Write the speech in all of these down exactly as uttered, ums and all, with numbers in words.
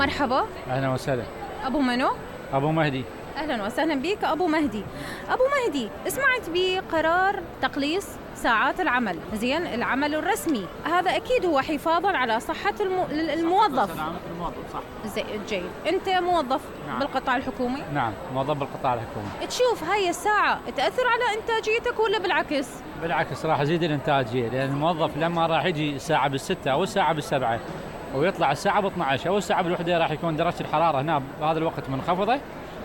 مرحبا. أهلا وسهلا. أبو منو؟ أبو مهدي. أهلا وسهلا بك أبو مهدي. أبو مهدي، سمعت بقرار تقليص ساعات العمل، زين العمل الرسمي، هذا أكيد هو حفاظا على صحة المو... الموظف. الموظف صح. زي جيد، أنت موظف نعم. بالقطاع الحكومي؟ نعم، موظف بالقطاع الحكومي. تشوف هاي الساعة تأثر على إنتاجيتك ولا بالعكس؟ بالعكس، راح يزيد الإنتاجية، لأن الموظف لما راح يجي الساعة بالستة أو الساعة بالسبعة ويطلع الساعة ب اثني عشر أو الساعة بالوحدة، راح يكون درجة الحرارة هنا بهذا الوقت منخفضة،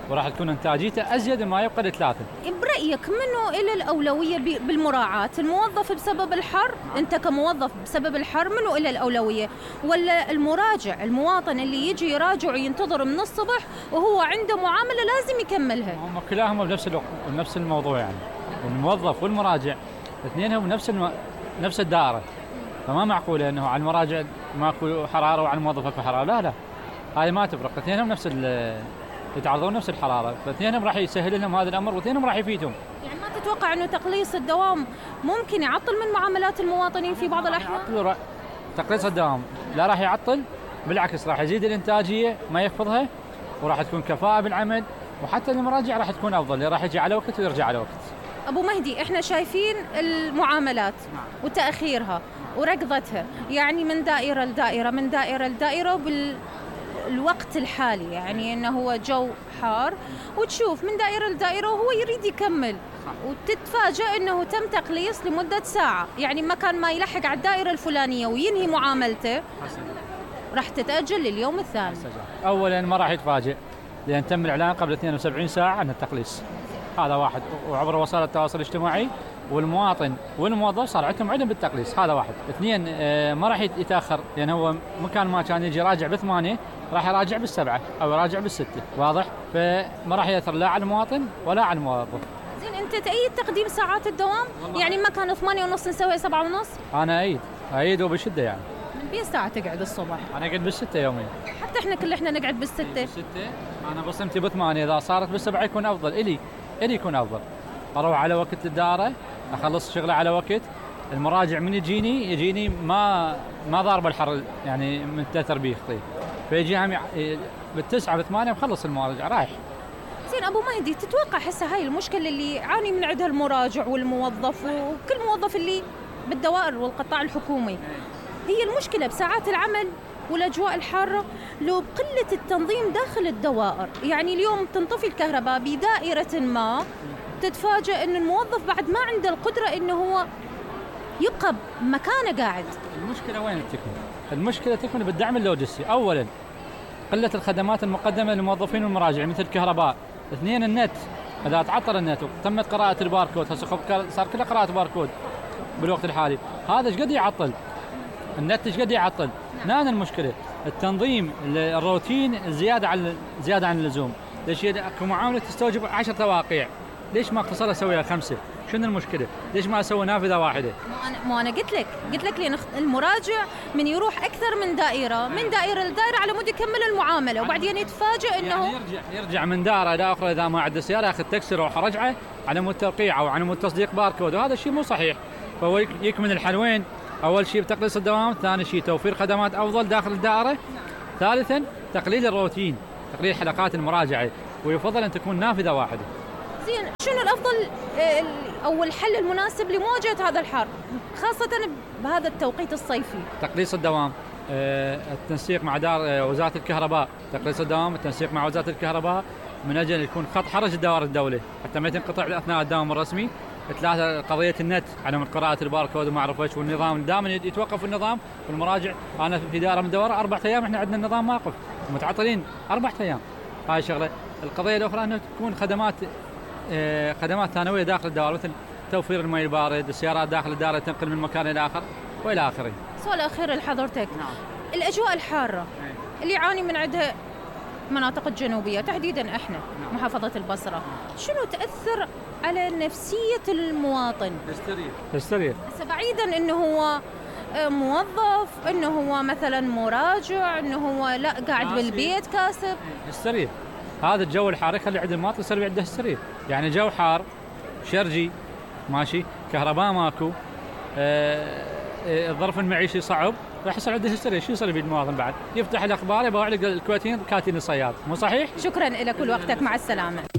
وراح تكون إنتاجيته أزيد ما يبقى لثلاثة. برأيك منو إلى الأولوية بالمراعاة؟ الموظف بسبب الحر؟ أنت كموظف بسبب الحر منو إلى الأولوية؟ ولا المراجع، المواطن اللي يجي يراجع وينتظر من الصبح وهو عنده معاملة لازم يكملها؟ هم كلاهم بنفس الوقت ونفس الموضوع، يعني الموظف والمراجع اثنينهم نفس الم... نفس الدائرة، فما معقولة أنه على المراجع ماكو حرارة وعلى الموظف اكو حرارة، لا لا، هاي ما تفرق، اثنينهم نفس ال يتعرضون نفس الحرارة، فاثنينهم راح يسهل لهم هذا الأمر واثنينهم راح يفيدهم. يعني ما تتوقع أنه تقليص الدوام ممكن يعطل من معاملات المواطنين في بعض الأحيان؟ تقليص الدوام لا راح يعطل، بالعكس راح يزيد الإنتاجية ما يخفضها، وراح تكون كفاءة بالعمل، وحتى المراجع راح تكون أفضل، راح يجي على وقت ويرجع على وقت. أبو مهدي، إحنا شايفين المعاملات وتأخيرها وركضتها، يعني من دائرة لدائرة من دائرة لدائرة بال الوقت الحالي، يعني انه هو جو حار وتشوف من دائرة لدائرة وهو يريد يكمل، وتتفاجأ انه تم تقليص لمدة ساعة، يعني ما كان ما يلحق على الدائرة الفلانية وينهي معاملته راح تتأجل لليوم الثاني. اولا ما راح يتفاجئ، لان تم الاعلان قبل اثنين وسبعين ساعة عن التقليص، هذا واحد، وعبر وسائل التواصل الاجتماعي، والمواطن والموظف صار عندهم علم بالتقليص، هذا واحد. اثنين، ما راح يتاخر، لان هو مكان ما كان يجي راجع بثمانية راح يراجع بالسبعة او يراجع بالستة، واضح؟ فما راح ياثر لا على المواطن ولا على الموظف. زين، انت تأيد تقديم ساعات الدوام؟ يعني ما كان ثمانية ونص نسوي سبعة ونص؟ انا ايد ايد وبشده. يعني من بين ساعة تقعد الصبح؟ انا اقعد بالستة يوميا. حتى احنا كل احنا نقعد بالستة. بالستة انا بصمتي بثمانية، اذا صارت بالسبعة يكون افضل الي الي يكون افضل. اروح على وقت الدارة، اخلص شغله على وقت، المراجع من يجيني يجيني ما ما ضارب الحر، يعني من تاثر بيه خطيب، فيجي هم بالتسعة بالثمانية مخلص المراجع رايح. زين أبو مهدي، تتوقع هسه هاي المشكلة اللي يعاني من عندها المراجع والموظف وكل موظف اللي بالدوائر والقطاع الحكومي، هي المشكلة بساعات العمل والأجواء الحارة لو بقلة التنظيم داخل الدوائر؟ يعني اليوم تنطفي الكهرباء بدائرة ما، تتفاجأ أن الموظف بعد ما عنده القدرة أنه هو يبقى مكانه قاعد. المشكلة وين تكمن؟ المشكلة تكمن بالدعم اللوجستي. أولاً قلة الخدمات المقدمة للموظفين والمراجع مثل الكهرباء. اثنين، النت، إذا تعطل النت وتمت قراءة الباركود، هسه صار كله قراءة باركود بالوقت الحالي، هذا ايش قد يعطل؟ النت ايش قد يعطل؟ هنا المشكلة التنظيم، الروتين زيادة عن زيادة عن اللزوم. ليش اكو معاملة تستوجب عشر تواقيع، ليش ما اقتصر اسويها خمسة؟ شنو المشكلة؟ ليش ما اسوي نافذة واحدة؟ مو انا مو انا قلت لك قلت لك لان المراجع من يروح اكثر من دائرة من دائرة لدائرة على مود يكمل المعاملة، وبعدين يتفاجئ انه يعني يرجع يرجع من دارة الى اخرى اذا ما عنده سيارة، ياخذ تاكسي يروح رجعه على مود توقيع او على مود تصديق باركود، وهذا الشيء مو صحيح. فهو يكمن الحلوين، اول شيء بتقليص الدوام، ثاني شيء توفير خدمات افضل داخل الدائرة، ثالثا تقليل الروتين، تقليل حلقات المراجعة، ويفضل ان تكون نافذة واحدة. زين، شنو الافضل او الحل المناسب لمواجهة هذا الحر خاصة بهذا التوقيت الصيفي؟ تقليص الدوام، التنسيق مع دار وزارة الكهرباء، تقليص الدوام، التنسيق مع وزارة الكهرباء من اجل يكون خط حرج دوائر الدولة حتى ما تنقطع اثناء الدوام الرسمي. ثلاثة، قضية النت، عدم قراءة الباركود وما اعرف ايش، والنظام دائما يتوقف النظام والمراجع. انا في دائرة من الدوائر اربع ايام احنا عندنا النظام واقف، متعطلين اربع ايام. هاي شغلة. القضية الاخرى انه تكون خدمات خدمات ثانوية داخل الدوائر، مثل توفير الماء البارد، السيارات داخل الدائرة تنقل من مكان إلى آخر وإلى آخره. سؤال أخير لحضرتك. نعم. الأجواء الحارة اللي يعاني من عندها مناطق الجنوبية تحديدا احنا نعم. محافظة البصرة، شنو تأثر على نفسية المواطن؟ هستيريا هستيريا. بعيدا انه هو موظف، انه هو مثلا مراجع، انه هو لا قاعد ناسي. بالبيت كاسب. هستيريا. هذا الجو الحار يخلي عند المواطن يصير عنده هستيريا، يعني جو حار شرجي ماشي، كهرباء ماكو، آه الظرف المعيشي صعب، راح يصير عنده هستيريا. شو يصير يفيد المواطن بعد؟ يفتح الاخبار يبغى على الكويتيين كاتين الصياد، مو صحيح؟ شكرا لك ولوقتك، مع السلامه.